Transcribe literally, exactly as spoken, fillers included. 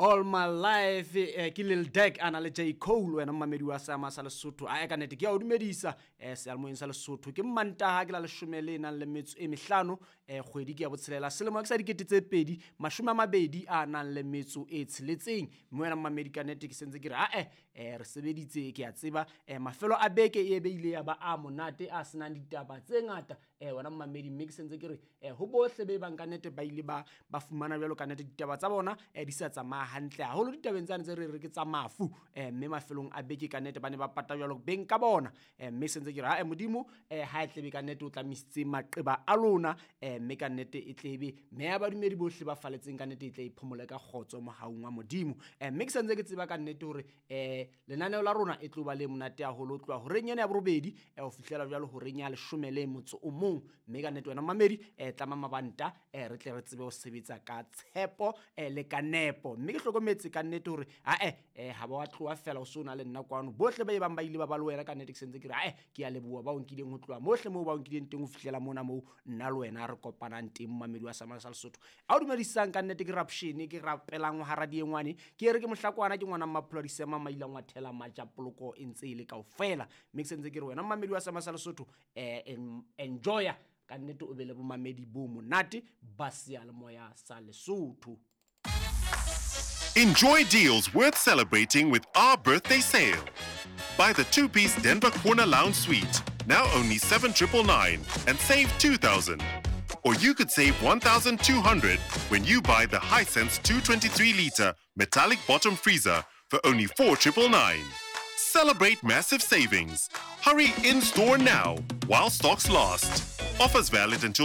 All my life eh, ke Lil Durk a na le J Cole. Wena mmamedi wa seama sa Lesotho, a ka nnete ke a o dumedisa eh, seyalemoyeng sa Lesotho. Ke Mmantaha, ke la leshome le nang le metso e mehlano, eh, kgwedi ke ya botshelela, selemo ke sa dikete tse pedi mashome a mabedi a nang le metso e tsheletseng. Mme wena mmamedi, ka nnete ke sentse ke re ae, eh, re sebeditse, ke a tseba eh, mafelo a beke e be ile ya ba a monate a senang ditaba tse ngata, eh, wena mmamedi. Mme ke sentse ke re eh, ho bohle be bang ka nnete ba ile ba ba fumana jwalo ka nnete ditaba tsa bona eh, di sa tsamaya hantle haholo ditabeng tsane tse re re ke tsa mafu, eh, mme mafelong a beke ka nnete ba ne ba pata jwalo beng ka bona. eh, mme sentse ke re ae, Modimo eh, ha e tlebe ka nnete o tlamisitse maqeba a lona, eh, mme ka nnete e tlebe mme ya badumedi bohle ba faletseng ka nnete e tle e phomole ka kgotso mohaung wa Modimo. eh, mme ke sentse ke tseba ka nnete hore eh, lenaneo la rona e tlo ba le monate haholo ho tloha horeng ena ya borobedi eh, ho fihlela jwalo horeng ya leshome le motso o mong. Mme ka nnete wena mamedi, eh, tlama mabanta, eh, re tle re tsebe ho sebetsa ka tshepo eh, le ka nepo. Mme ke hlokometse ka nnete hore ae, eh, ha ba wa tloha fela o so na le nna kwano, bohle ba e bang ba ile ba ba le wena, ka nnete ke sentse ke re ae, ke a leboha ba o nkileng ho tloha mohle moo ba o nkileng teng ho fihlela mona moo nna le wena re kopanang teng. Mamedi wa Samala sa Lesotho, a o dumedisang ka nnete ke Rapshene, ke rapelang hara diengwane, ke re ke mohlakwana, ke ngwana Mmapholo Disema maila ngwathela majapoloko e ntse e le kaofela. Mme ke sentse ke re wena mmamedi wa Sama sa Lesotho, eh, enjoya ka nnete, o be le bomamedi bo monate ba seyalemoya sa Lesotho. Enjoy deals worth celebrating with our birthday sale. Buy the two-piece Denver Corner Lounge Suite, now only seven nine nine nine, and save two thousand. Or you could save one thousand two hundred when you buy the Hisense two hundred twenty-three liter metallic bottom freezer for only four nine nine nine. Celebrate massive savings. Hurry in store now while stocks last. Offers valid until